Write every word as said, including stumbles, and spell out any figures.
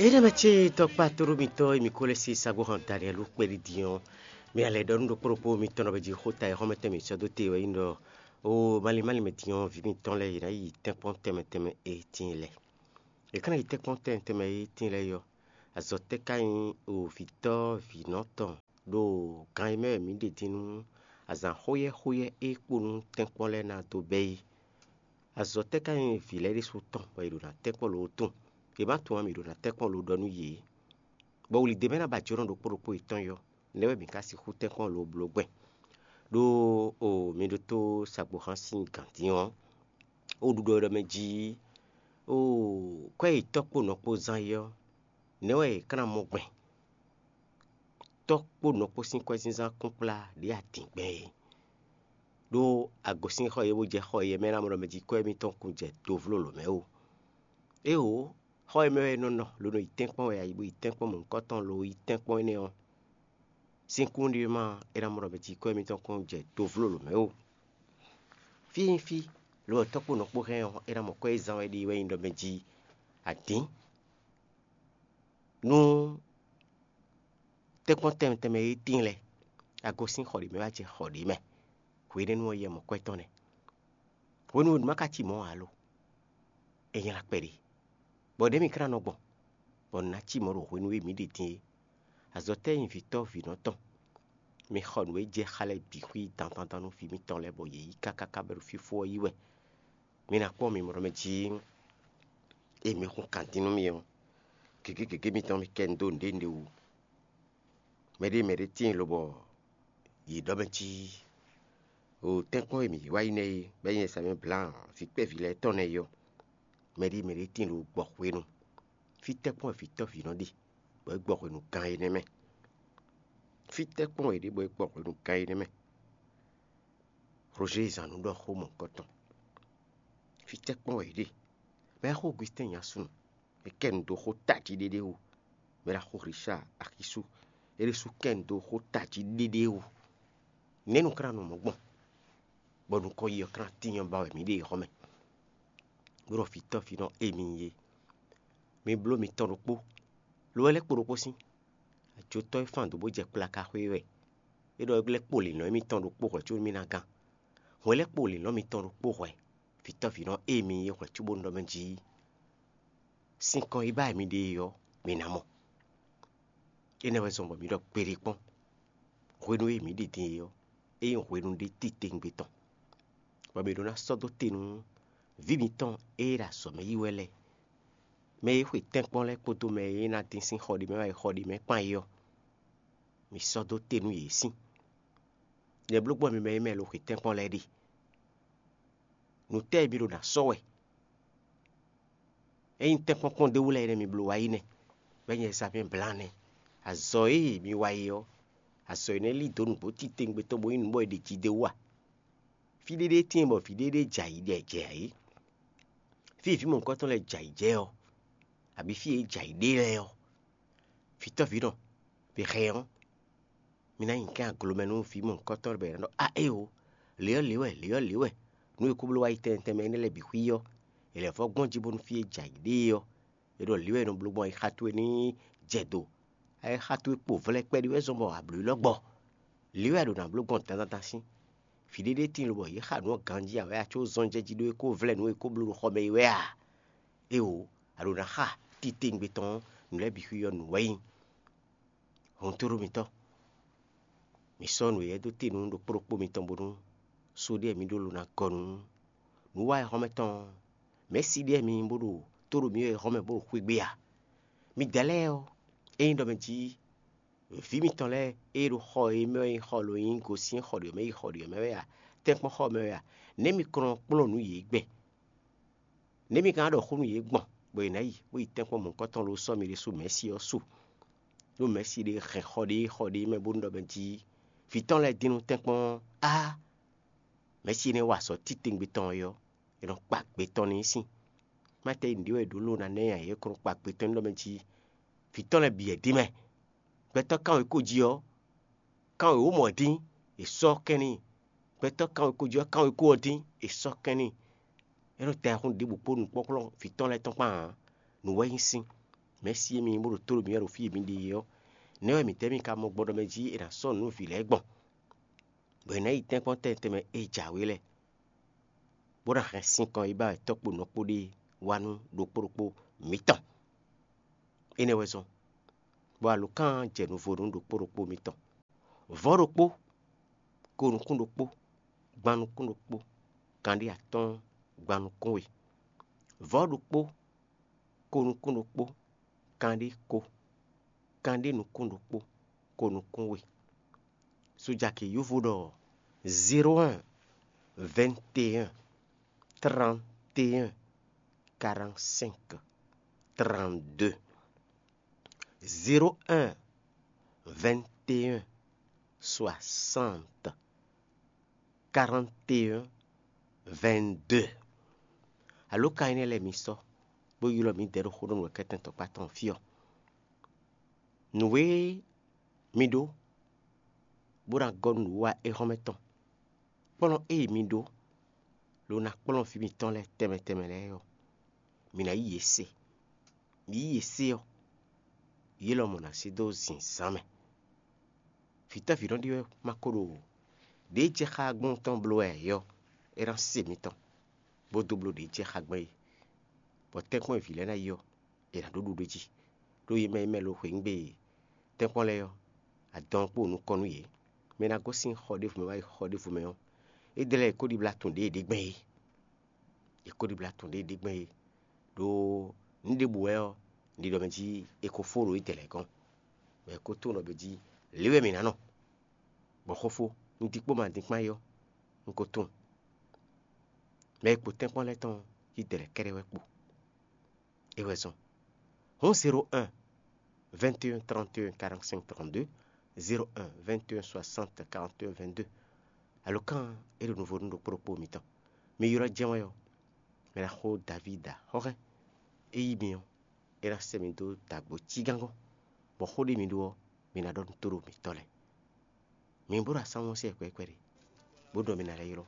Énɛ́ mɛ ce tɔkpá tóɖó mitɔn e mi ko lɛ́ se sagbó hɔn Daniɛlu kpɛɖi din ɔ́, mi a lɛ́ ɖɔ nú ɖokpó ɖokpó mitɔn ɖɔ jí xó ta e xɔ́mɛtɔn mi sɔ́ dó te wɛ nyí ɖɔ: Oo, malín malín mɛ din ɔ́, vǐ mitɔn lɛ́ɛ yě ná yi tɛ́nkpɔ́n tɛnmɛ tɛnmɛ e tíin lɛ́ɛ. È ká ná yi tɛ́nkpɔ́n tɛnmɛ tɛnmɛ e tíin lɛ́ɛ yi ɔ́, azɔ̌ tɛ́ ka nyí o vǐtɔ́ vǐnɔ tɔn ɖo gan e mɛ wɛ mǐ ɖe din nú azǎn xóyɛ́ xóyɛ́ e kpo nú tɛ́nkpɔ́n lɛ́ɛ ná dó bɛ́ é? Azɔ̌ tɛ́ ka nyí vǐ lɛ́ɛ ɖésú tɔn bɔ è ɖo ná tɛ́nkpɔ́n lǒ tunwun? È má tunwun ǎ, mǐ ɖo ná tɛ́nkpɔ́n lǒ ɖɔ nú yě. Bɔ wlǐdé mɛ ná ba jǒnɔ ɖokpó ɖokpó yětɔn yɔ, nɛ̌ wɛ mǐ ka sixú tɛ́nkpɔ́n lǒ bló gbɛn? Ɖó o mi ɖótó sagboxán sín gǎn dín ɔ́, o ɖuɖɔ ɖɔ mɛ jí o kwɛ́ yi tɔ́ kpó nɔ kpó zán yi ɔ́, nɛ̌ wɛ è ká ná mɔ gbɛn? Tɔ́ kpó nɔ kpó sín kwɛ́zínzán kún kplá ɖě adǐngbɛ́n é. Ɖó a gosín xɔ e bó jɛ xɔ e mɛ ná mɔ ɖɔ mɛ jí kwɛ́ mitɔn kún jɛ dovló lǒ mɛ ó. Éeǒ, xɔ e mɛ wɛ è nɔ nɔ lono yi tɛ́nkpɔ́n wɛ a yi bó yi tɛ́nkpɔ́n mɔ̌hunkɔtɔn lo yi tɛ́nkpɔ́n énɛ́ ɔ́, sín kún ɖé ma é ná mɔ ɖɔ mɛ jí kwɛ́ mitɔn kún jɛ dovló lǒ mɛ ó. Fí e nyí fí, lo ɔ́ tɔ́ kpó nɔ kpó hɛn ɔ́, é ná mɔ kwɛ́ e zán wɛ ɖe wɛ nyí ɖɔ mɛ jí adǐn. Nú tɛ́nkpɔ́n tɛnmɛ tɛnmɛ e tíin lɛ́ɛ, a gosín xɔ ɖě mɛ wá jɛ xɔ ɖě mɛ. Hwenɛ́nu ɔ́ yɛ mɔ kwɛ́ tɔn nɛ́. Hwenu e nǔ ma ka cí mɔ̌ ǎ lo, é nylá kpɛɖé. Bɔ ɖěe mǐ ká ná nɔ gbɔn, bɔ nǔ ná cí mɔ̌ ɖo hwenu e mǐ ɖe din é. Azɔ̌ tɛ́ nyí vǐtɔ́ vǐnɔ tɔn? Mi xɔ nǔ e jɛ xá lɛ́ɛ bǐ xwí dandandan nú vǐ mitɔn lɛ́ɛ bɔ yě yí káká ká bɛ́ ɖo fífó ɔ́ yí wɛ. Mi ná kpɔ́n mi mɔ̌ mɛ jí e mi hun kan dín nú mi ɔ́, gěgé gěgé mitɔn mi kɛ nu dó nǔɖé nǔɖé wú. Mɛɖée mɛɖée tíin lobɔ yě ɖɔ mɛ jí o tɛ́nkpɔ́n e mǐ wá yi nɛ́ é, bɔ é nyí Ɛsayɔ́ Blan vǐ kpɛví lɛ́ɛ tɔn nɛ́ é ɔ́, mɛɖée mɛɖée tíin lo gbɔ hwenu. Fí tɛ́nkpɔ́n wɛ vǐtɔ́ vǐnɔ ɖe, bɔ é gbɔ hwenu gan énɛ́ mɛ? Fí tɛ́nkpɔ́n wɛ è ɖe bɔ é gbɔ hwenu gan énɛ́ mɛ? Roger zan nǔ ɖɔ xó mɔ̌hunkɔtɔn. Fí tɛ́nkpɔ́n wɛ è ɖe? Mɛ xó Augustin nyi asúnɔ, é kɛ nu dó xó tají ɖéɖé wú. Mɛ ɖaxó Richard Axisu, é ɖésú kɛ nu dó xó tají ɖéɖé wú. Nɛ̌ nu klán nɔ mɔ̌ gbɔn, bɔ nukɔn yi ɔ́ klán tínyɔ́ ba wɛ mǐ ɖe yi xɔ mɛ? Bó ɖɔ fǐtɔ́ fínɔ émi nyí é. Mi bló mitɔn ɖokpó, lo wɛ lɛ́ kpo ɖokpó sín. Ajotɔ́ e fán dǒ bó jɛ kplaka xwé wɛ. É ɖɔ é lɛ́ kpo lǐnlɔ́n émítɔn ɖokpó hwɛ̌ có mì ná gán. Hwɛ lɛ́ kpo lǐnlɔ́n mitɔn ɖokpó hwɛ̌. Fǐtɔ́ fínɔ émi nyí é hwɛ̌ có bónú ɖɔ mɛ jí sinkɔn e ba wɛ mi ɖe é ɔ́, mi ná mɔ. Énɛ́ wɛ zɔn bɔ mǐ ɖɔ kpeɖé kpɔ́n. Hwenu e mǐ ɖi din é ɔ́, é nyí hwenu ɖé titewungbe tɔn, bɔ mǐ ɖó ná sɔ́ dó te nú vǐ mǐtɔn e ɖo azɔ̌ mɛ yi wɛ lɛ́ɛ, mɛ e xwe tɛ́nkpɔ́n lɛ́ɛ kpódó mɛ e ná dín sín xɔ ɖé mɛ wá yi xɔ ɖé mɛ kpán é ɔ́. Mǐ sɔ́ dó te nú yě sín. Nyɛ bló gbɔn mi mɛ e mɛ lo xwe tɛ́nkpɔ́n lɛ́ɛ ɖe. Nǔ tɛ́ e mi ɖo ná sɔ́ wɛ? Ényí tɛ́nkpɔ́n kpɔ́n d'é wú lɛ́ɛ nɛ́ mi bló wá yi nɛ́, bɔ é nyí Ɛzabɛ́n blán nɛ́. Azɔ̌ e mi wa yi ɔ́, azɔ̌ énɛ́ lí dǒ nǔgbó titewungbe tɔn bó nyí nǔ bɔ è ɖe jí d'é wú a? Fí ɖéɖéé tíin bɔ vǐ ɖéɖéé jɛ ayǐ ɖɛ jɛ ayǐ. Fí e vǐ mɔ̌hunkɔtɔn lɛ́ɛ jɛ ayǐ jɛ ɔ́, abǐ fí e é jɛ ayǐ ɖe lɛ́ɛ ɔ́, vǐtɔ́ vǐ nɔ, vǐ hɛn ɔ́, mi ná nyi kɛ́n aglo mɛ nú vǐ mɔ̌hunkɔtɔn lɛ́ɛ bɔ è nǎ ɖɔ: A éeǒ, lě ɔ́ lě wɛ, lě ɔ́ lě wɛ. Nǔ e kó bló wá yi tɛnmɛ tɛnmɛ énɛ́ lɛ́ɛ bǐ xwí ɔ́, è lɛ̌ vɔ́ gbɔn jí bónú fí e jɛ ayǐ ɖe é ɔ́, è ɖɔ lǐ wɛ è nɔ bló gbɔn ayixa towe ní jɛ do. Ayixa towe kpo vlɛ́ kpɛɖí wɛ zɔn bɔ a blǒ yi lɔ́ gbɔ. Lǐ wɛ a ɖǒ ná bló gbɔn dandandan sín. Vǐ ɖéɖéé tíin lobɔ yě xa nǔ ɔ́ ganjí ǎ wɛ a có zɔ́n jɛ jí ɖó é kó vlɛ́ nǔ e é kó bló ɖo xɔ mɛ é wɛ a? Éeǒ, a ɖǒ ná xa titewungbe tɔn ɔ́, nǔ lɛ́ɛ bǐ xwí ɔ́ nǔ wɛ nyí. Hɔntoɖó mitɔn, mi sɔ́ nǔ éyɛ́ dó te nú ɖokpó ɖokpó mitɔn bónú só ɖé mi ɖó lo ná gɔ́ nú nǔ wa e hɔn mɛ tɔn ɔ́. Mɛ̌si ɖé mi nyí bó ɖo tó ɖo mǐ wɛ hɔn mɛ bó ɖo xwé gbe a? Midɛɛ lɛ́ɛ ɔ́, ényí ɖɔ mɛ jí vǐ mitɔn lɛ́ɛ e ɖo xɔ e mɛ wɛ nyí xɔ lo nyí gosín xɔ ɖě mɛ yi xɔ ɖě mɛ wɛ a, tɛ́nkpɔ́n xɔ mɛ wɛ a, nɛ̌ mi kɔn nɔ kplɔ́n nǔ yě gbɛn? Nɛ̌ mi ka ná ɖɔ xó nú yě gbɔn, bɔ yě ná yi, bó yi tɛ́nkpɔ́n mɔ̌hunkɔtɔn lo sɔ́ mi ɖésú mɛ̌si ɔ́ su? Ɖó mɛ̌si ɖé hɛn xɔ ɖé xɔ ɖé mɛ bónú ɖɔ mɛ jí vǐ tɔn lɛ́ɛ dín nú tɛ́nkpɔ́n ɔ́, á, mɛ̌si énɛ́ wa azɔ̌ titewungbe tɔn ɔ́, è nɔ kpa gbe tɔn n'i sín. Má tɛ nǔɖé wɛ è ɖǒ ló ná ná nya yě kɔn kpa gbe tɔn n'i ɖɔ mɛ jí vǐ tɔn lɛ́ɛ bǐ wɛ dín mɛ. Gbɛtɔ́ kánwekó jí ɔ́, kánwé wǒ mɔ ɔ́ dín, è sɔ́ kɛn n'i. Gbɛtɔ́ kánwekó jí ɔ́, kánwekó ɔ́ dín, è sɔ́ kɛn n'i. É nɔ tɛ ayihún ɖěbǔ kpó nǔkplɔ́nkplɔ́n vǐ tɔn lɛ́ɛ tɔn kpán ǎ. Nǔ wɛ nyí sín. Mɛ̌si e mi nyí bó ɖo tó ɖo mǐ wɛ ɖo fí e mǐ ɖe é ɔ́, nɛ̌ wɛ mǐtɛ́ mì ka mɔ gbɔɖɔ mɛ jí è nǎ sɔ́ nǔ nú vǐ lɛ́ɛ gbɔn, bɔ è nǎ yi tɛ́nkpɔ́n tɛnmɛ tɛnmɛ e jǎwe lɛ́ɛ, bó ná hɛn sinkɔn e ba wɛ tɔ́ kpo nɔ kpó ɖe wá nú ɖokpó ɖokpó mǐtɔn? Énɛ́ wɛ zɔ́n, bɔ alǒkan ɔ́ jɛ nuvo nú ɖokpó ɖokpó mitɔn. Vɔ̌ ɖokpó, ko nukún ɖokpó, gban nukún ɖokpó, kanɖé atɔ́ɔ́n, gban nukún we. Vɔ̌ ɖokpó, ko nukún ɖokpó, kanɖé ko, kanɖé nukún ɖokpó, ko nukún we. Sujaki yúvo ɖɔ zéro un, vingt et un, trente et un, quarante-cinq, trente-deux. Zéro un, vingt et un, soixante, quarante et un, vingt-deux. Alǒkan énɛ́ lɛ́ɛ mi sɔ́, bó ylɔ́ mǐdɛɛ ɖo xóɖónú wɛ kɛ́tɛn tɔkpá tɔn fí ɔ́. Nǔ e mi ɖó, bó ná gɔ́ nǔ wa éhɔ́nmɛ tɔn, kplɔ́n e mi ɖó, ló ná kplɔ́n vǐ mitɔn lɛ́ɛ tɛnmɛ tɛnmɛ lɛ́ɛ ɔ́, mi ná yí yě se. Mi yí yě se ɔ́, yě lɔmɔ̌ ná sí dó zǐnzán mɛ. Vǐtɔ́ vǐ nɔ ɖi wɛ ma ko ɖo ɖě jɛ xá gbɔn tɔn bló wɛ ɔ́, é ná se mitɔn, bó dó bló ɖě jɛ xá gbɔn é, bɔ tɛ́nkpɔ́n e vǐ lɛ́ɛ ná yi ɔ́, è nǎ ɖó ɖuɖu jí. Ɖó yě mɛ e mɛ lo xweyǐgbe tɛ́nkpɔ́n lɛ́ɛ ɔ́, adɔn kpó nukɔn nú yě. Mɛ e ná gosín xɔ ɖěvo mɛ wá yi xɔ ɖěvo mɛ ɔ́, é dlɛ́ è ko ɖibla tun ɖě è ɖe gbɛn é. È ko ɖibla tun ɖě è ɖe gbɛn é. Ɖó nǔ ɖěbǔ wɛ ɔ́, un ɖi ɖɔ mɛ jí è ko fó ɖo étɛ́ lɛ́ɛ gɔ́n, bɔ è ko tunwun ɖɔ mɛ jí lě wɛ mǐ ná nɔ, bɔ xófó, un dín kpó ma dín kpán é ɔ́, un ko tunwun. Mɛ e kpo tɛ́nkpɔ́n lɛ́ɛ tɔn ɔ́, yí dɛ̌lɛ́ kɛ́ɖɛ́ wɛ kpo. É wɛ zɔ́n. Hǔn zéro un, vingt et un, trente et un, quarante-cinq, trente-deux, zéro un, vingt et un, soixante, quarante et un, vingt-deux. Alǒkan e ɖo nuvo nú ɖokpó ɖokpó mitɔn. Mi ylɔ́ jɛ́n wɛ ɔ́, mi ná xo Davídi axɔ́hɛn. É yí mi ɔ́, é ná sɛ́ mi dó dǎgbó cígángɔ́n, bɔ xó ɖé mi ɖó ɔ́, mi ná ɖɔ nú tóɖo mǐtɔn lɛ́ɛ. Mi bó ɖo asánwú ɔ́ sí wɛ kpɛɖé kpɛɖé, bó ɖɔ mi ná lɛ́ ylɔ́.